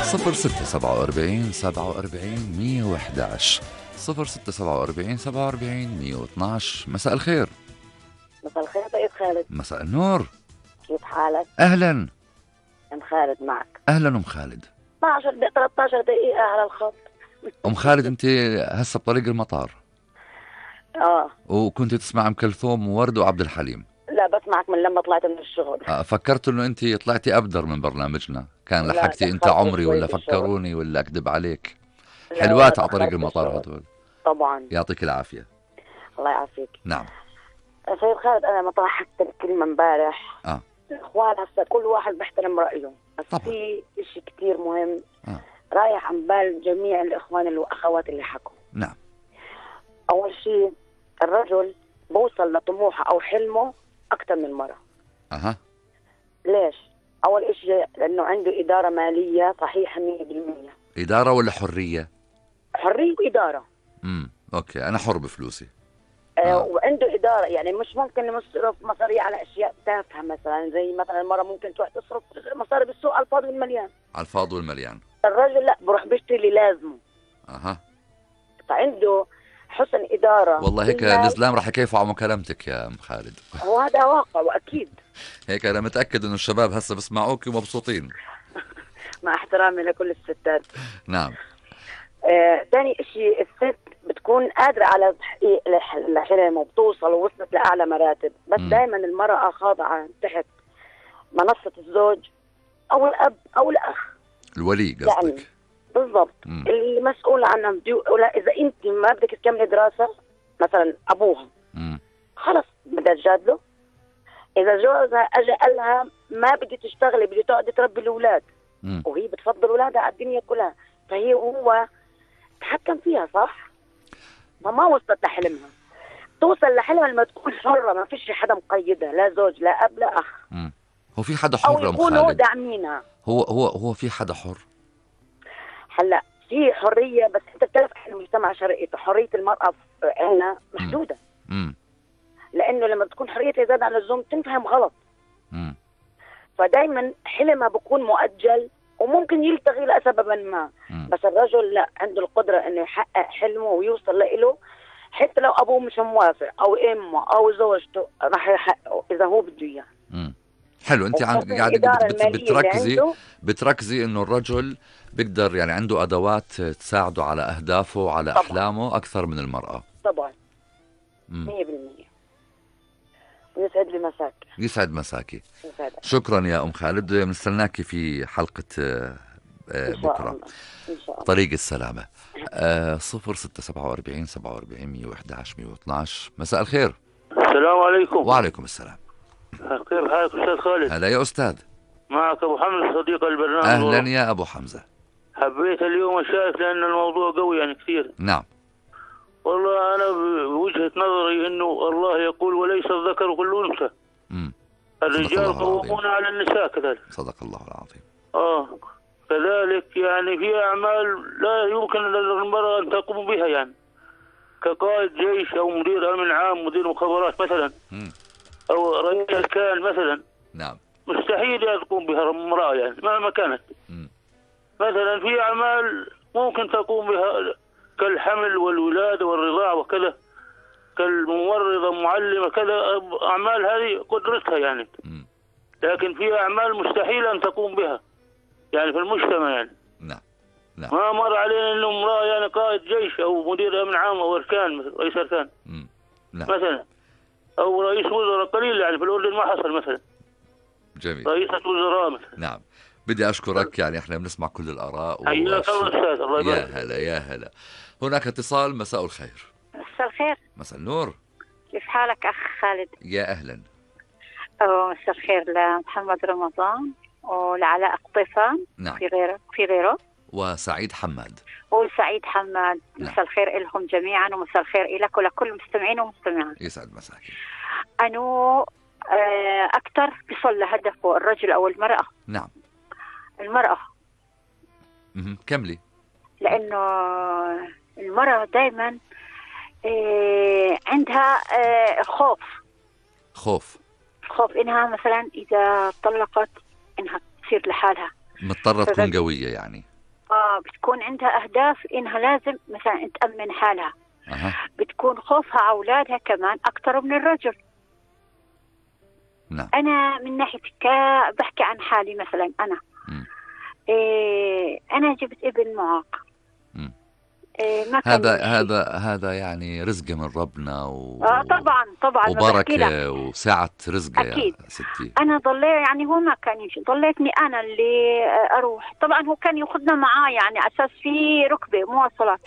0647 47 112. مساء الخير. مساء الخير سيد خالد. مساء النور. كيف حالك؟ أهلا أم خالد معك. أهلا أم خالد. 13 دقيقة على الخط. أم خالد أنت هسه بطريق المطار وكنت تسمع أم كلثوم وورد وعبد الحليم؟ لا بسمعك من لما طلعت من الشغل. فكرت إنه أنت طلعتي أبدر من برنامجنا، كان لحقتي أنت عمري ولا فكروني ولا أكذب عليك. حلوات على طريق المطار هدول. طبعا يعطيك العافية. الله يعافيك. نعم سيد خالد، أنا ما طرحت الكلمة امبارح. الإخوان هسه كل واحد بيحترم رأيه، بس في إشي كتير مهم رايح عن بال جميع الإخوان والأخوات اللي حكوا. نعم. أول شيء الرجل بوصل لطموحه أو حلمه أكتر من مرة. ليش؟ أول إشي لأنه عنده إدارة مالية صحيحة 100%. إدارة ولا حرية؟ حرية وإدارة. أوكي، أنا حر بفلوسي. وعنده إدارة، يعني مش ممكن يصرف مصاري على أشياء تافهة، مثلا زي مثلا المرة ممكن تروح تصرف مصاري بالسوق على الفاضي والمليان. على الفاضي والمليان. الرجل لا، بروح بيشتري اللي لازمه. فعنده حسن إدارة. والله هيك الإسلام رح يكيفوا على مكالمتك يا أم خالد. وهذا واقع وأكيد. هيك أنا متأكد إنه الشباب هسه بسمعوك ومبسوطين. مع احترامي لكل الستات. نعم. ثاني إشي، الست بتكون قادرة على تحقيق الحلم وبتوصل ووصلت لأعلى مراتب، بس دائما المرأة خاضعة تحت منصة الزوج أو الأب أو الأخ. الولي قصدك؟ يعني بالضبط. اللي مسؤول عنها إذا أنت ما بدك تكملي دراسة مثلا أبوها خلص بدها تجادله. إذا جوزها أجا قالها ما بدي تشتغلي، بدي تقعدي تربي الأولاد، وهي بتفضل أولادها على الدنيا كلها، فهي هو تحكم فيها صح؟ فما وصلت لحلمها. توصل لحلمها لما تكون حرة، ما فيش حدا مقيدها، لا زوج لا أب لا أخ. هو في حدا حر أو يكونوا داعمينها. هو في حدا حر؟ هلا في حرية، بس أنت بتعرف إحنا مجتمع شرقي، حرية المرأة عندنا محدودة. لأنه لما تكون حريتها زاد عن اللزوم تنفهم غلط. فدايما حلمها بكون مؤجل وممكن يلتغي لسببا ما. بس الرجل لا، عنده القدرة انه يحقق حلمه ويوصل له، حتى لو ابوه مش موافق او امه او زوجته راح يحققه اذا هو بده اياه. حلو. انت قاعده بتركزي انه الرجل بيقدر، يعني عنده ادوات تساعده على اهدافه وعلى طبعا. احلامه اكثر من المرأة. طبعا 100%. يسعد لي مساكي. يسعد مساكي. شكرا يا أم خالد، بنستناكي في حلقة بكرة إن شاء الله. طريق السلامة. 0647 47 111 112. مساء الخير. السلام عليكم. وعليكم السلام. كيف حالك أستاذ خالد؟ هلا يا أستاذ. معك أبو حمزة صديق البرنامج. أهلا يا أبو حمزة. حبيت اليوم أشارك لأن الموضوع قوي يعني كثير. نعم. والله أنا بوجهة نظري إنه الله يقول وليس الذكر كل أنثى. الرجال قوامون على النساء كذلك. صدق الله العظيم. كذلك يعني في أعمال لا يمكن للمرأة أن تقوم بها، يعني كقائد جيش أو مدير أمن عام، مدير مخابرات مثلا، أو رئيس أركان مثلا. نعم. مستحيل تقوم بها امرأة يعني مهما كانت. مثلا في أعمال ممكن تقوم بها كالحمل والولادة والرضاعة وكذا، كالممرضة معلمة كذا، أعمال هذه قدرتها يعني. لكن في أعمال مستحيل أن تقوم بها يعني في المجتمع يعني. نعم. ما مر علينا إنه امرأة يعني قائد جيش أو مدير أمن عام أو أركان، مثل رئيس أركان مثلا، أو رئيس وزراء. قليل يعني في الأردن ما حصل مثلا. جميل. رئيسة وزراء مثلا. نعم. بدي أشكرك، يعني إحنا بنسمع كل الآراء. حياك الله أستاذ. الله يبارك. يا هلا يا هلا. هناك اتصال. مساء الخير. مساء الخير. مساء النور. كيف حالك أخ خالد؟ يا أهلا. مساء الخير لمحمد رمضان ولعلاء قطيفان. نعم. في غيره وسعيد حماد. وسعيد حماد. نعم. مساء الخير لهم جميعا، ومساء الخير لك ولكل مستمعين ومستمعات. يسعد مساكي. أنه أكثر بيصل لهدفه الرجل أو المرأة. نعم. المرأة. كملي. لأنه المرأة دائما عندها خوف إنها مثلا إذا طلقت إنها تصير لحالها، مضطرة تكون قوية يعني. المرأة بتكون عندها أهداف إنها لازم مثلا تأمن حالها. بتكون خوفها على أولادها كمان أكتر من الرجل. نعم. أنا من ناحية بحكي عن حالي مثلا أنا. أنا جبت ابن معاق. ما هذا يعني رزق من ربنا طبعا وبركة وسعة رزقه يا ستي. أنا يعني هو ما كان يمشي، ضليتني أنا اللي أروح. طبعا هو كان ياخذنا معاه يعني أساس في ركبة مواصلات.